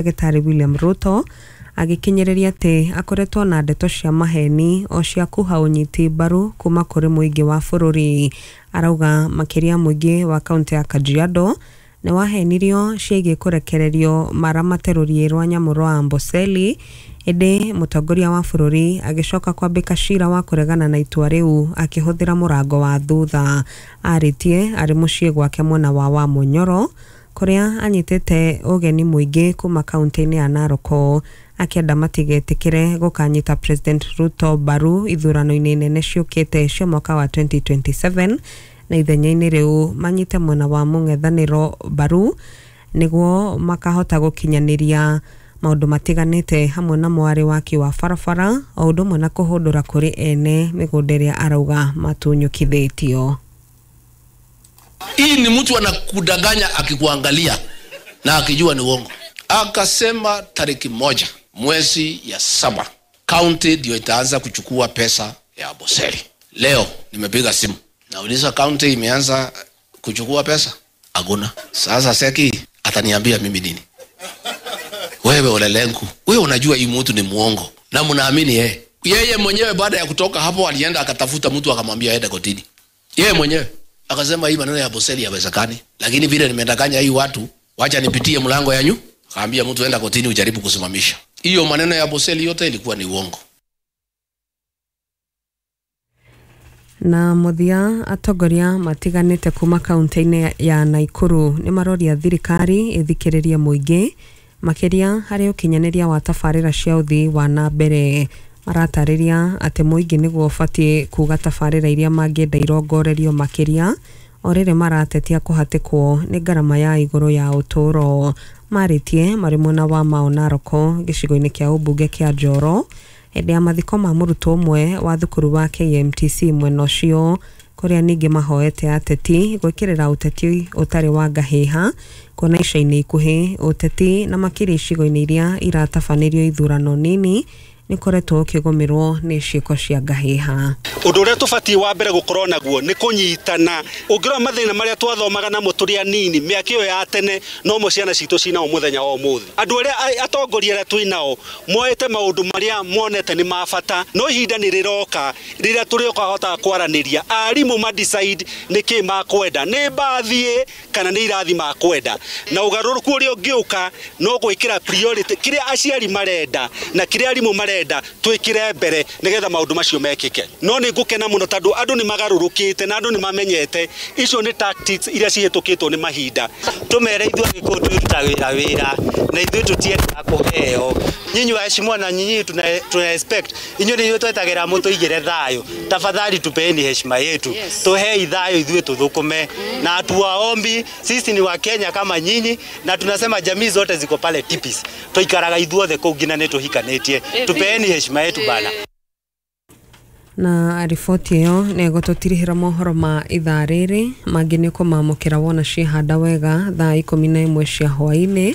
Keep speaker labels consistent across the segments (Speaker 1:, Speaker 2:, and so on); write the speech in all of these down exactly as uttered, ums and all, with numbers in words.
Speaker 1: Ndagĩtarĩ William Ruto agĩkinyĩrĩria atĩ akoretwo na ndeto cia maheni o cia kũha ũnyiti mbaru kuma kũrĩ mũingĩ wa bũrũri. Arauga makĩria mũingĩ wa kaunti ya Kajiado nĩ wahenirio ciĩgiĩ kũrekererio maramate rũriĩ rwa nyamũ rwa Amboseli, ĩndĩ mũtongoria wa bũrũri agĩcoka kwambĩka cira wa kũregana na itua rĩu akĩhũthĩra mũrango wa thutha. Arĩtie arĩ mũciĩ gwake mwena wa Wamunyoro kũrĩa anyitĩte ũgeni mũingĩ kuma kaunti-inĩ ya Narok, akĩenda matigetĩkĩre gũkanyita President Ruto mbaru ithurano-inĩ nene ciũkĩte cia mwaka wa twenty twenty-seven, na ithenya-inĩ rĩu manyite mwena wa mũng'ethanĩro mbaru nĩguo makahota gũkinyanĩria maũndũ matiganĩte hamwe na mwarĩ waki wa barabara o ũndũ ũmwe na kũhũndũra kũrĩ ene mĩgũnda ĩrĩa arauga matunyũkithĩtio.
Speaker 2: Hii ni mtu anakudanganya akikuangalia na akijua ni uongo. Akasema tariki moja mwezi ya saba county ndio itaanza kuchukua pesa ya Amboseli. Leo nimepiga simu nauliza county imeanza kuchukua pesa? Hakuna. Sasa Seki ataniambia mimi nini? Wewe Olelenku, wewe unajua hii mtu ni muongo na mnaamini yeye. Yeye mwenyewe baada ya kutoka hapo alienda akatafuta mtu akamwambia aende kotini. Yeye mwenyewe akasema hii maneno ya Amboseli hayawezekani, lakini vile nimedanganya hii watu, wacha nipitie mlango yanyu. Akaambia mtu enda kotini ujaribu kusimamisha. Hiyo maneno ya Amboseli yote ilikuwa ni uongo.
Speaker 1: Na mũthia atongoria matiganĩte kuma kaunti-inĩ ya Nakuru nĩ maroria thirikari ĩthikĩrĩrie mũingĩ makĩria harĩ ũkinyanĩria wa tabarĩra cia ũthii wa na mbere. Maratarĩria atĩ mũingĩ nĩguo ũbatiĩ kuga tabarĩra iria mangĩenda irongorerio makĩria o rĩrĩ maratetia kũhatĩkwo nĩ ngarama ya igũrũ ya ũtũũro. Marĩtie marĩ mwena wa Mau Narok gĩcigo-inĩ kĩa ũmbunge kĩa Njoro hĩndĩ ya mathiko ma mũrutwo ũmwe wa thukuru wa K M T C mwena ũcio, kũrĩa ningĩ mahoete ateti gwĩkĩrĩra ũteti ũtarĩ wa ngahĩha kuona ica-inĩ ikuhĩ ũteti na makĩria icigo-inĩ iria iratabanĩrio ithurano nini nĩ ũkoretwo ũkĩgũmĩrwo nĩ ciĩko cia ngahĩha.
Speaker 3: Ũndũ ũrĩa tũbatiĩ wa mbere gũkorwo naguo nĩ kũnyitana. Ũngĩrora mathĩna marĩa twathomaga namo tũrĩ anini mĩaka ĩyo ya tene no mo ciana citũ cinao mũthenya wa ũmũthĩ. Andũ arĩa atongoria arĩa twĩ nao moete maũndũ marĩa monete nĩ ma bata, no ihinda nĩ rĩroka rĩrĩa tũrĩũkahotaga kwaranĩria. Arimũ ma decide nĩ kĩ makwenda, nĩ mbathiĩ kana nĩ irathi makwenda, na ũgarũrũku ũrĩa ũngĩũka no gwĩkĩra priority kĩrĩa aciari marenda na kĩrĩa arimũ marenda twĩkĩre mbere nĩgetha maũndũ macio mekĩke. No nĩ ngũkena mũno tondũ andũ nĩ magarũrũkĩte na andũ nĩ mamenyete icio nĩ tactics iria cihĩtũkĩtwo nĩ mahinda.
Speaker 4: Tũmere ithuĩ Agĩkũyũ twĩrutaga wĩra wĩra na ithuĩ tũtiendaga kũheo. Nyinyi waheshimiwa na nyinyi tuna, tuna expect inyuĩ nĩ inyuĩ twetagĩra mũtũigĩre thayũ. Tafadhali tupeeni heshima yetu. Yes. Tuhei thayũ ithuĩ tũthũkũme. Mm. Na tuwaombi sisi ni wa Kenya kama nyinyi na tunasema jamii zote ziko pale tipis. Tuikaraga ithuothe kũu nginya nĩ tũhikanĩtie. Tupeeni heshima yetu bana.
Speaker 1: Na riboti ĩyo nĩ ĩgũtũtirihĩra mohoro ma ithaa rĩrĩ mangĩ nĩ ũkũmamũkĩra wona ciĩhanda wega thaa ikũmi na ĩmwe cia hwaĩ-inĩ.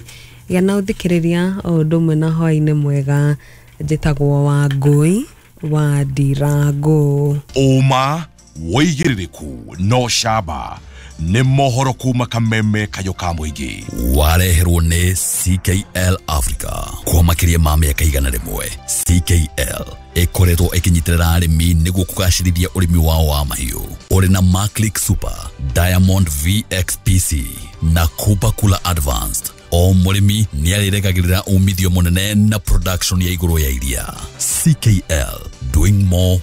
Speaker 1: Gĩa na ũthikĩrĩria o ũndũ ũmwe na hwaĩ-inĩ mwega. Njĩtagwo Wangũi wa Ndirangũ.
Speaker 5: Ũma wĩigĩrĩrĩku no camba nĩ mohoro kuma kameme kayo ka mũingĩ.
Speaker 6: Wareherwo nĩ C K L Africa kwa makĩria ma mĩaka igana rĩmwe. C K L ĩkoretwo ĩkĩnyitĩrĩra arĩmi nĩguo kũgacĩrithia ũrĩmi wao wa mahiũ. Ũrĩ na Maclick Super, Diamond V X P C na Cooper Cooler Advanced. O mũrĩmi nĩarĩregagĩrĩra umithio mũnene na production ya igũrũ ya iria. C K L, doing more